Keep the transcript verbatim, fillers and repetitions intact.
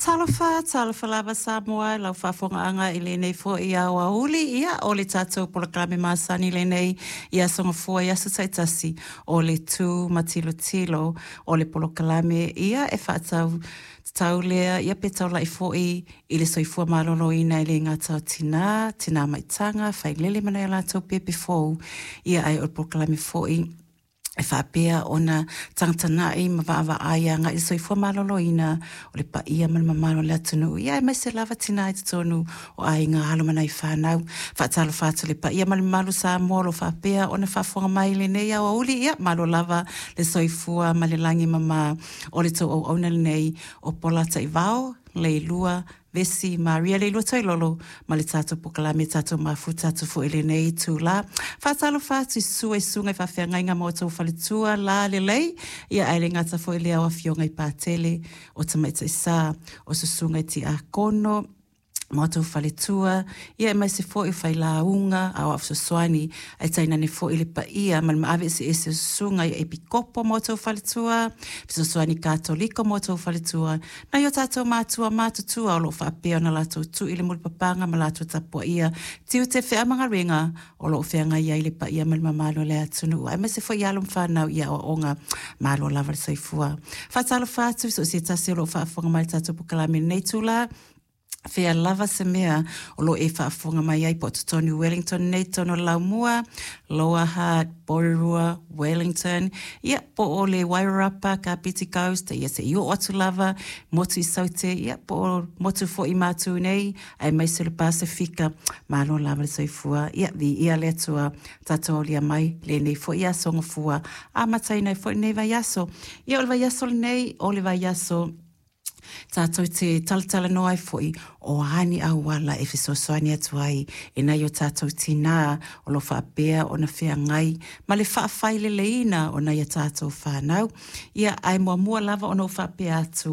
Talofa, talofa lava Samoa i lau faafofogaaga i lenei foi aoauli. Ia, o le tatou polokalame masani lenei i aso Gafua i aso taitasi o le Tu ma Tilotilo o le polokalame ia e faatatau tatau lea ia pe taulai foi i le soifua maloloina e le gata o tina, tina maitaga, failele ma nai a latou pepe fou, ia ae o le polokalame foi e faapea ona tagatagai ma vaavaai agai i le soifua maloloina o le paia ma le mamalu o le atunuu, ia aemaise lava tina i totonu o aiga, alo ma nai fanau. Faatalofa atu i le paia ma le mamalu o Samoa o lo o faapea ona faafofoga mai i lenei aoauli. Ia malo lava le soifua ma le lagi e mama o le tou auauna lenei o Pola Taivao, Leilua Vesi Maria Leilua Toilolo ma le tatou polokalame tatou mafuta atu foi i lenei itula. Faatalofa atu i susua i susuga i faafeagaiga ma outou faletua lalelei, ia ae le gata foi i lea o afioga i Patele, o Tamaitai Sa, o susuga i Tiakono, ma outou faletua, ia aemaise foi o failauga, aoao fesoasoani, ae tainane foi le paia ma le maave eseese o susuga i Epikopo ma outou faletua, fesoasoani Katoliko ma outou faletua, nai o tatou matua matutua o lo o faapea ona latou tui le mulipapaga ma latou tapuaia tiute, feau ma galuega o lo o feagai ai le paia ma le mamalu o le atunuu, aemaise foi alo ma fanau i aoaoga. Malo lava le soifua. Faatalofa atu i so o se tasi o lo o faafofoga mai i le tatou polokalame i lenei itula, fea lava se mea o lo o e faafofoga mai ai, po o totonu Wellington nei, totonu o le Laumua, Lower Hutt, Porirua, Wellington, ia po o le Wairarapa, Kapiti Coast, ia se i oo atu lava, motu i Saute, ia po o motu foi i Matu nei, aemaise o le Pasefika, malo lava le soifua. Ia, viia le Atua, tatou aulia mai lenei foi aso Gafua, amataina ai foi lenei vaiaso. Ia, o le vaiaso lenei, o le vaiaso tatou te talatalanoa ai foi o a ni auala e fesoasoani atu ai i nai o tatou tinā o lo o faapea ona feagai ma le faafaileleina o nai a tatou fanau. Ia, ae muamua lava ona ou faapea atu,